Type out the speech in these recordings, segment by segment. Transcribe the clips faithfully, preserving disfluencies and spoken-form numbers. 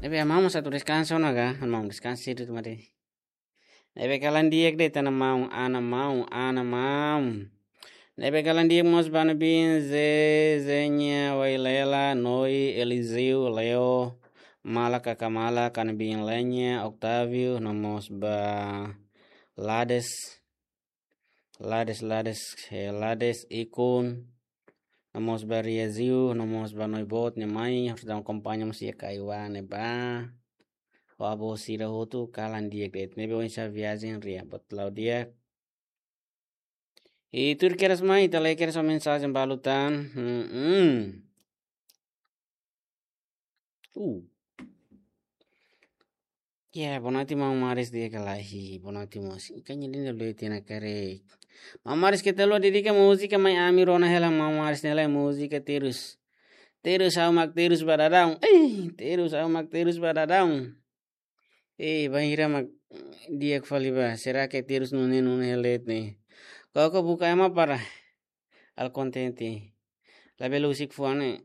Ne'ebé maun mós atu deskansa ona ka, maun deskansa sira tu mari. Ne'ebé kalan di'ak de'it, ana maun, ana maun, ana maun. Ne'ebé kalan di'ak mós ba ne'ebé Ze, Zenya, Wailela, Noi, Eliseu, Leo, Mala, Kaka Mala, kalan ne'ebé Lenya, Octavio, no mós ba Lades, Lades, Lades, eh, Lades, Ikun, no mós ba Riaziu, no mós ba Noi Boot nia mai, harus dá akompaña mós iha Kaiwa ne'ebá. Ho avó sira hotu kalan di'ak de'it. Ne'ebé oinsá viajen Ria, boot la'o di'ak. I tuir kedas mai, ita lee kedas mensajen balu tan. Hmm, hmm. Uh. Ya, boa noite, maun Maris, di'ak ka lae? Boa noite, moos. Ikan ini lebih tina kare. Maun Maris, keta haluha dedika múzika mai ami rona hela, maun Maris, ne'e lae múzika terus. Terus ha'u mak terus ba daudaun. Eh, terus ha'u mak terus ba daudaun. Eh, bainhira mak di'ak fali ba. Será que terus nune'e nune'e hela de'it ne'e? Koko buka ema para. Ha'u kontente. Labele husik fuan ne'e.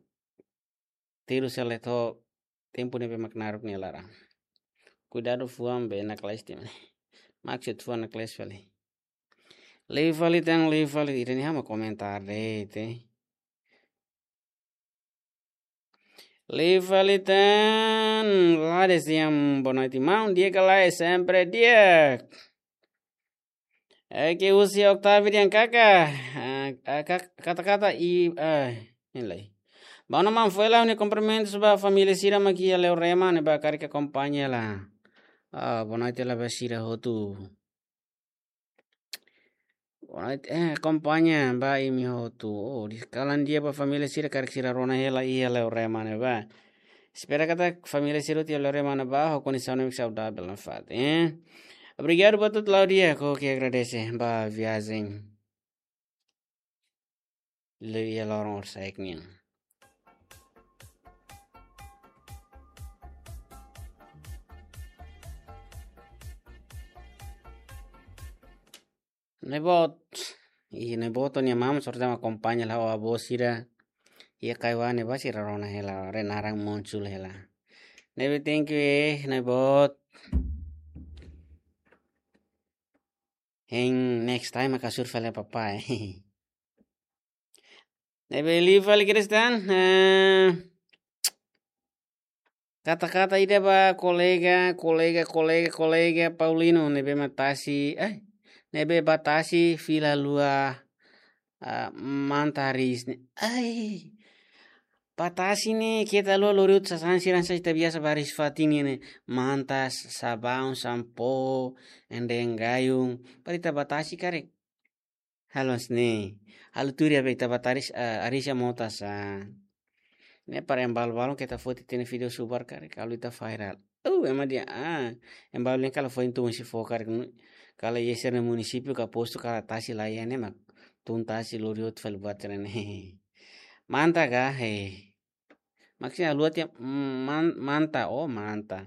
Terus hela de'it ho tempu ne'ebé mak naruk nia laran. Kuidadu fuan be naklees tiha ona. Maksud fuan naklees fali. Liu fali tan, liu fali. Ida-ne'e ha'u mak komentar de'it. Liu fali tan, Lades Siam, boa noite, maun. Di'ak ka lae? Sempre di'ak. Oke, husi Octavio dehan kaka. Ah, ah, kak-, kata-kata i, ah, ne'e lae. Ba ona maun, fó hela ó-nia kumprimentus ba família sira mak iha Leorema ne'ebá karik akompaña hela. Ah, boa noite hela ba sira hotu. Boa noite, eh, akompaña ba imi hotu. Oh, di kalan di'ak ba família sira karik sira rona hela iha Leorema ne'ebá. Espera katak família sira hotu iha Leorema ne'ebá ho kondisaun ne'ebé saudavel nafatin, eh. Obrigadu ba hotu la'o di'ak, oke, agradese ba viajen. Liu iha loron orsida nian. Noi Boot. I Noi Boot nia maun sorta akompaña hela ho avó sira. Iha Kaiwa ne'ebá sira rona hela, re naran muncul hela. Ne'ebé thank you, eh, Noi Boot. Hein next time mak hasoru fali papai. Ne'ebé liu fali Kristen, eh, kata-kata ida ba kolega, kolega, kolega, kolega Paulino, ne'ebé mak tasi, eh, ne'ebé ba tasi fila haluha, ah, manta hariis ne'e. Ai, ba tasi ne'e keta haluha lori hotu sasán sira hanesan ita biasa ba hariis fatin nian ne'e. Manta, sabaun, sampo, ende gayung. Para ita ba tasi karik. Halo hanesan ne'e. Halo tuir ya be ita ba tasi, ah, hariis iha mota sá. Ne'e para ema balu-balu keta foti tiha ona vídeo subar karik, halo ita viral. Oh, ema dehan, ah, ema balu ne'e kala foin tun husi fó karik. Kala iha sira-nia munisípiu ka postu kala tasi laiha ne'e mak tun tasi lori hotu fali buat sira-ne'e. Manta ka, he. Maksudnya haluha tiha, mm, man-, manta, oh, manta.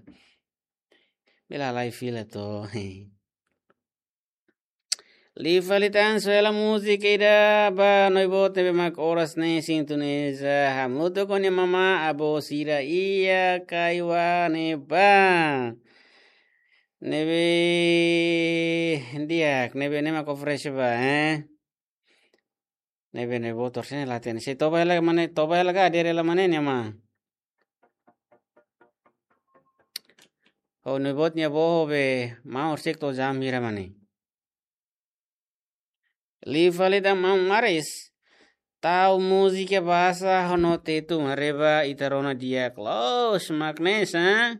Bele halai fila to, he. Liu fali tan, só hela múzika ida ba Noi Boot ne'ebé mak oras ne'e sintoniza hamutuk ho nia mamá, avó sira iha Kaiwa ne'ebá. Ne'ebé di'ak, ne'ebé ne'e mak oferese ba, eh. Ne'ebé Noi Boot oras ne'e la hatene. Sei toba hela mane, toba hela ka, adere hela mane nia mamá. Ho Noi Boot nia avó ho be maun orsida to'o jam hira mane. Liu fali tan maun Maris. Tau múzika bahasa ho no Tetun haree ba ita rona di'ak loos mak ne'e sá.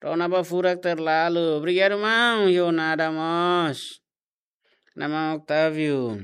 Rona ba furak terlalu. Obrigadu maun, yo nada mós. Nama Octavio.